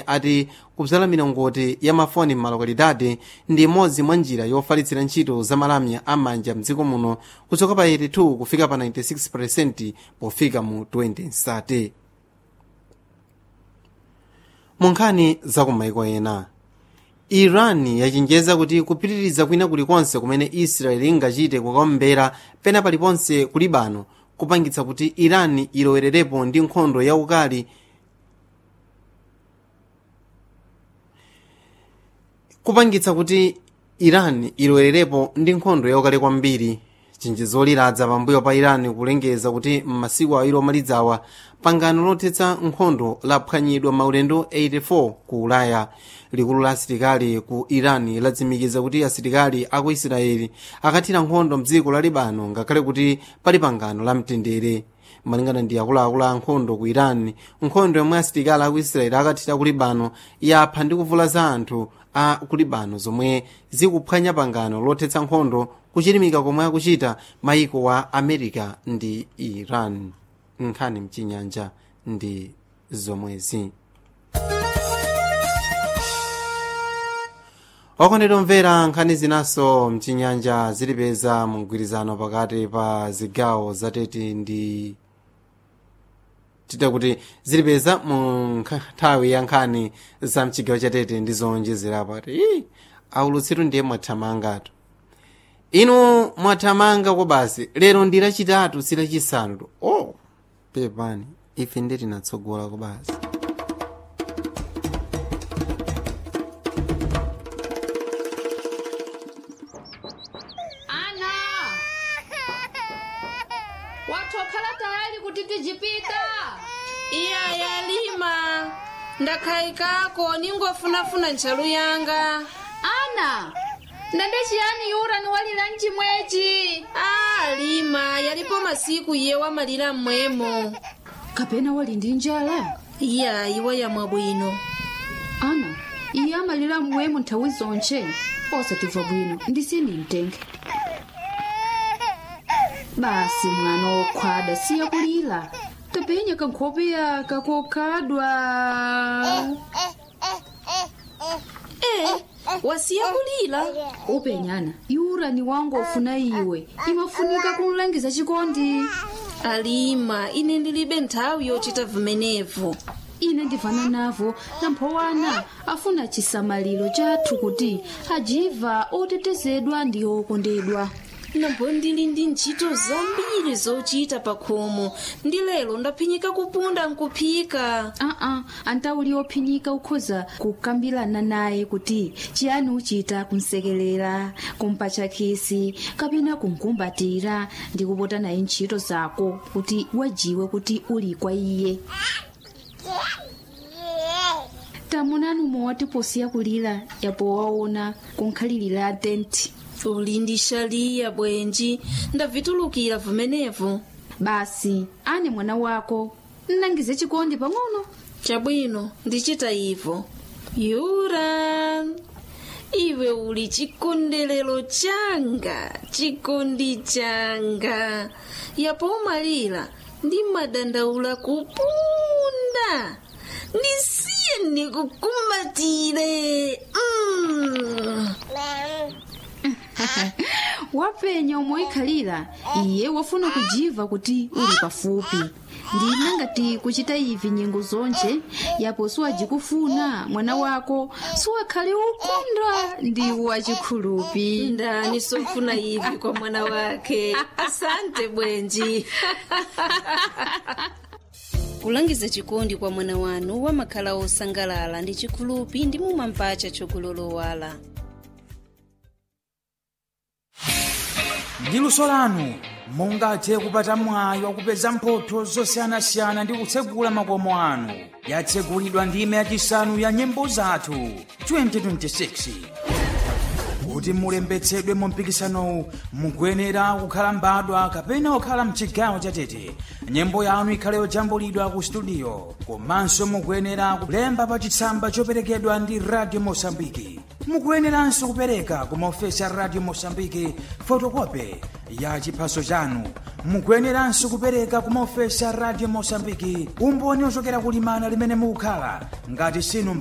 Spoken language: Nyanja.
Ati kubzala milongoti ya mafoni m'malokalidade ndi imodzi mwa njira yofalitsira ntchito za malamya am'manja mdziko muno kuchoka pa 82 kufika pa 96% pofika mu 2030. Mu nkhani zakumaiko ena, Iran yachenjeza kuti kupitiriza kwina kulikonse kumene Israeli ingachite kukaombera pena paliponse ku Libano kupangitsa kuti Iran ilowererepo ndi nkhondo yaukali, kupangitsa kuti Iran ilowererepo ndi nkhondo yaukali kwambiri. Chenjezo liladza pambuyo pa Iran kulengeza kuti m'masiku awiri omalizawa pangano lothetsa nkhondo laphwanyidwa maulendo 84 ku Ulaya. Likulu la asilikali ku Iran latsimikiza kuti asilikali aku Israeli akathira nkhondo mdziko la Libano ngakhale kuti pali pangano la mtendere. Malingana ndi akuluakulu a nkhondo ku Iran, nkhondo yomwe asilikali aku Israeli akathira ku Libano yapha ndi kuvulaza anthu a ku Libano, zomwe zikuphwanya pangano lothetsa nkhondo kuchilimika komwe akuchita maiko wa America ndi Iran. Nkhani mchinyanja ndi zomwezi. Okondedwa omvera, nkhani zinaso mchinyanja zilipeza mgwirizano pakati pa zigawo zatete ndi tita kuti zilipeza mu nthawi ya nkhani za mchigawo chatete ndi zowonjezerapo. Ati aulutsitu ndiye mwathamangatu, inu mwathamanga kwa basi. Lero ndi lachitatu, si lachisanu. Oh, pepani, ife ndi tinatsogola kwa basi. Ana, watokhala tayali kuti tijipita? Iya, yalima, ndakhayikako, ningofunafuna ntchalu yanga. Ana, ndande chiyani yura niwalira mchimwechi? A, lima, yalipo masiku iye wamalira mmwemo. Kapena wali ndi njala? Iya, iwo yamwa bwino. Ana, iye amalira mmwemo nthawi zonche, osatimva bwino ndisini mtenge. Basi mwana wokhwada, siya kulira, tapenya kankhope yaka kokhadwa. E, wasiya kulira. Upenyana yura ni wangu ofuna iwe, imafunika kumlangiza chikondi. Alima, ine ndilibe nthawi yochita vimenevo. Ine ndivana navo, namphowana afuna chisamaliro chathu kuti ajiva otetezedwa ndi okondedwa. Nambo ndili ndi ntchito zambiri zochita pa khomo, ndi lero ndaphinyika kupunda nkuphika. Aa, antauli ophinyika ukhoza kukambirana naye kuti chiyani uchita kumsekelera, kumpatcha khisi kapena kumkumbatira ndi kupota naye ntchito zako kuti wajiwe kuti uli kwa iye. Tamunani umwe posiya kulira yapo waona kunkhalirira tenti. Uli ndi shaliya bwenji, ndavitulukira vimenevo. Basi ane mwana wako nnangize chikondi pang'ono. Chabwino, ndichita ivo. Yura, iwe uli chikondelero changa, chikondi changa. Yapo umalira ndi madandaula kupunda. Ndisiye ndikukumbatire. Wapenya umoikhalira, iye wafuna kujiva kuti uli pafupi. Ndina ngati kuchita ivi nyengo zonje yapo siwajikufuna mwana wako siwakhale ukondwa ndi wachikhulupi. Ndani sofuna ivi kwa mwana wake? Asante bwenji. Kulangiza chikondi kwa mwana wanu wamakhala osangalala ndi chikhulupi ndi mumampacha chokulolowala. Ndi luso lanu mungathe kupata mwayi wakupeza mphotho zosiyanasiyana ndi kutsegula makomo anu. Yatsegulidwa ndime yachisanu ya nyimbo zathu 2026. Kuti mulembetsedwe mu mpikisanowu, mukuyenera kukhala mbadwa kapena kukhala mchigawo chatete, nyimbo yanu ikhale yojambulidwa ku studio, komanso mukuyenera kulemba pa chitsamba choperekedwa ndi Radio Mosambiki. Mukuyeneranso kupereka ku maofesi a Radio Mosambiki fotokope ya chiphaso chanu. Mukuyeneranso kupereka ku maofesi a Radio Mosambiki umboni ochokera kulimana limene mukukhala ngati sinu mbadwa.